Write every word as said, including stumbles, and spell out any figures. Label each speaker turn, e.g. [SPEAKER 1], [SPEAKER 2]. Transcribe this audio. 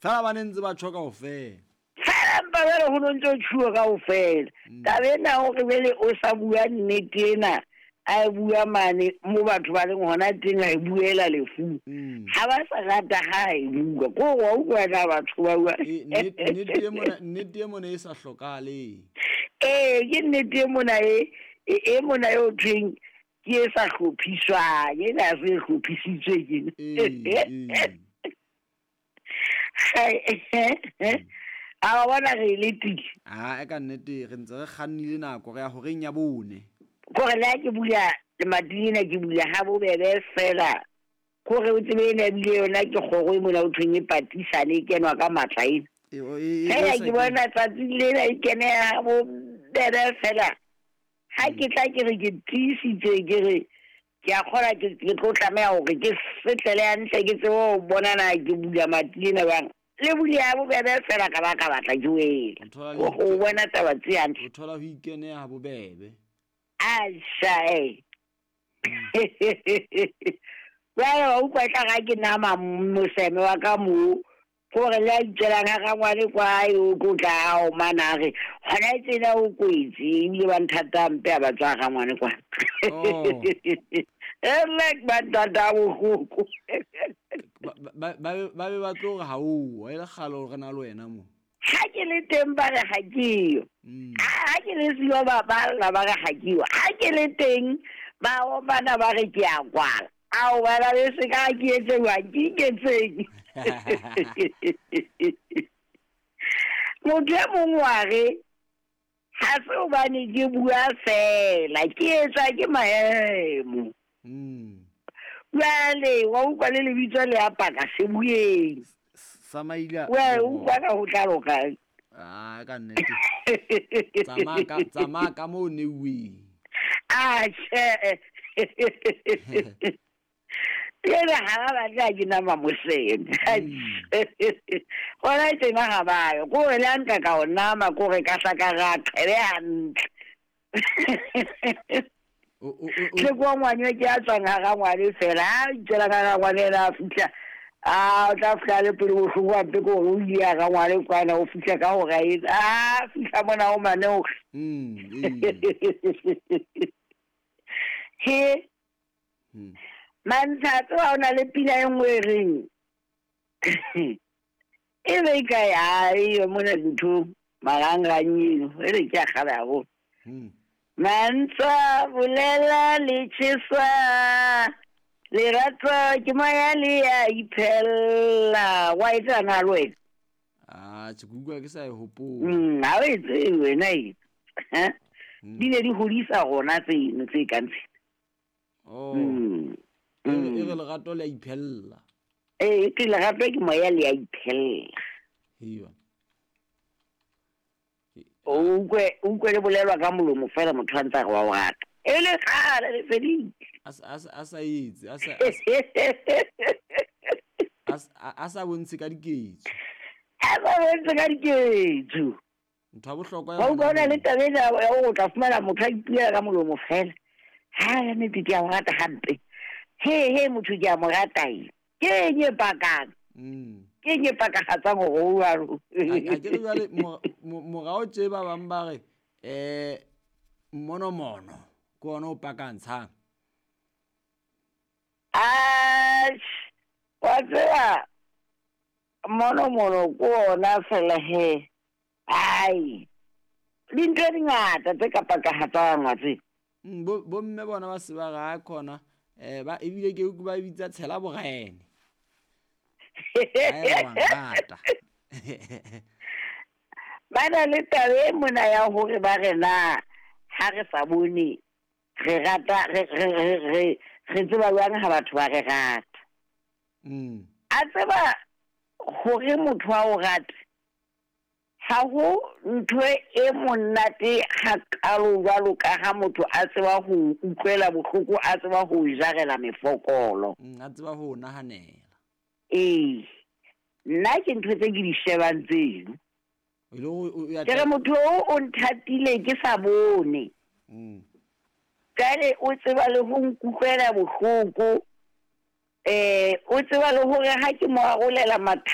[SPEAKER 1] Fela ba ne ntse ba tjho kaofela.
[SPEAKER 2] Fela mpa jwale ho no ntso tjhuwa kaofela.
[SPEAKER 1] Mm.
[SPEAKER 2] Taba ena hore jwale o sa bua nnete ena, a e bua mane mo batho ba leng hona teng, a e buela lefung.
[SPEAKER 1] Mm.
[SPEAKER 2] Ha ba sa rata ha e bua. Ko wa utlwa na batho ba bua.
[SPEAKER 1] E, nnete nnete e mona, nnete e mona e sa hlokahaleng.
[SPEAKER 2] Ee, ke nnete e mona e, e, e mona e ho thweng ke e sa hlophiswang, ena ha se e hlophisitswe ke.
[SPEAKER 1] Ee, ee.
[SPEAKER 2] A wa bona re e letile.
[SPEAKER 1] Ah, e ka nnete re ntse re kgannile nako re ya horeng ya bone.
[SPEAKER 2] Kore le ha ke bula lemati lena, ke bula ha bobebe fela. Kore o tsebe ena ebile yona ke kgoro e mona ho thweng e patisane, e kenwa ka matla ena.
[SPEAKER 1] E, o- e, e,
[SPEAKER 2] Fela
[SPEAKER 1] e sa
[SPEAKER 2] ke bona tsatsing lena e keneha ha bobebe fela. Ha ke tla ke re ke tiisitse ke re ke a kgona ke ke tlo tlameha hore ke setlele hantle ke tsebe ho bona na ke bula mati lena jwang. Le bule ha bobebe fela ka ba ka batla ke wela.
[SPEAKER 1] O thola
[SPEAKER 2] Ho
[SPEAKER 1] le
[SPEAKER 2] ho bona taba tse hantle.
[SPEAKER 1] o thola ho ikeneha ha bobebe.
[SPEAKER 2] Asha eh. Jwale wa utlwa tla ga ke nama moseme wa ka moo, kore le a itswelang ha rangwane kwa o tlo tla a omana a re hona tsena o kwetse, ebile ba nthata hampe ha ba tswa rangwane kwa.
[SPEAKER 1] Oh.
[SPEAKER 2] E like ba nthata bohloko.
[SPEAKER 1] Ba ba ba ba be ba tlo re ha o, e le kgale hore re na le wena mo.
[SPEAKER 2] Ha ke le teng ba re ha ke yo.
[SPEAKER 1] Mm.
[SPEAKER 2] Ha ke le siyo ba ba lla ba re ha ke yo. Ha ke le teng ba omana ba re ke a kwala. Ao bana le se ka ke etse jwang, ke iketseng. Motho e mong wa re ha se hobane ke bua fela, ke etsa ke maemo.
[SPEAKER 1] Mm.
[SPEAKER 2] Jwale wa utlwa le lebitso le a paka se bueng.
[SPEAKER 1] Sa maila.
[SPEAKER 2] Wa utlwa ka ho tla loka.
[SPEAKER 1] Ah, ka nnete. Tsamaya ka tsamaya ka moo neuweng.
[SPEAKER 2] Ah, tjhe. Jwale ha ba batle ha ke nama moseme. Hona tjena ha ba yo. Kore le ha nka ka o nama, kore ka hla ka ra qhele hantle.
[SPEAKER 1] O o o
[SPEAKER 2] Tle kwa ngwane ke a tswang ha rangwane fela. Ha itswela ka rangwane ena a fihla, a o tla fihla le pele bohloko hampe ke hore o ile ha rangwane kwana, o fihla ka hora e, a fihla mona o mane o re.
[SPEAKER 1] Mm, ee.
[SPEAKER 2] He.
[SPEAKER 1] Mm.
[SPEAKER 2] Mantsha tseba ho na le pina e nngwe e reng e be e kae, ha eyo mona dinthong marangrang eno, e re ke a kgale haholo.
[SPEAKER 1] Mm.
[SPEAKER 2] Mantsha bolela le tjhesa, lerato ke moya le ya iphella. Wa e tseba na le wena?
[SPEAKER 1] Ah, tjhe, ke utlwa ke sa e hopola.
[SPEAKER 2] Mm, ha o e tsebe wena e. Ha?
[SPEAKER 1] Mm.
[SPEAKER 2] Di ne di hodisa rona tseno tse kang tsena.
[SPEAKER 1] Oh.
[SPEAKER 2] Mm.
[SPEAKER 1] E re, e
[SPEAKER 2] Mm.
[SPEAKER 1] re lerato le a iphella.
[SPEAKER 2] Ee, ke lerato ke moya le a iphella.
[SPEAKER 1] Hei bana.
[SPEAKER 2] O utlwe, o utlwe le bolelwa ka molomo fela motho a ntse a re wa o rata. E le kgale le fedile.
[SPEAKER 1] A sa, a sa, a sa etse, a sa, a sa, a sa, a sa bontshe ka diketso.
[SPEAKER 2] A sa bontshe ka diketso.
[SPEAKER 1] Ntho ya bohlokwa ya
[SPEAKER 2] Wa utlwa
[SPEAKER 1] hona
[SPEAKER 2] ho na le
[SPEAKER 1] moo.
[SPEAKER 2] taba ena ya hore o tla fumana motho a ipuela ka molomo fela. Ha ya nnete ke a o rata hampe. He, he, motho ke a mo rata e. Ke eng e pakang?
[SPEAKER 1] Mm.
[SPEAKER 2] Ke eng e pakagatsang hore o jwalo?
[SPEAKER 1] Ha ke re jwale mo-, morao tje ba bang ba re, eh, mmonomono ke ona o pakantshang.
[SPEAKER 2] Atjhe, wa tseba mmonomono ke ona fela he. Ai, dintho di ngata tse ka pakagatsang wa tseba.
[SPEAKER 1] Mm, bo, bo mme bona ba se ba re ha khona, eh, ba ebile ke utlwe ba bitsa tshela borene. Ha eba wa nrata.
[SPEAKER 2] Ba na le taba e mona ya hore ba re na ha re sa bone re rata, re, re, re, re, re tseba jwang ha batho ba re rata.
[SPEAKER 1] Mm.
[SPEAKER 2] A tseba hore motho a o rate, ha ho ntho e monate hakalo jwalo ka ha motho a tseba ho utlwela bohloko, a tseba ho jarela mefokolo.
[SPEAKER 1] Mm, a tseba ho nahanela.
[SPEAKER 2] Ee, nna ke ntho tse ke di shebang tseno.
[SPEAKER 1] E le hore o, o ya
[SPEAKER 2] Ke re
[SPEAKER 1] tla-
[SPEAKER 2] motho o, o nthatile ke sa bone.
[SPEAKER 1] Mm.
[SPEAKER 2] Jwale o tseba le ho nkutlwela bohloko. Eh, o tseba le hore ha ke mo arolela mathata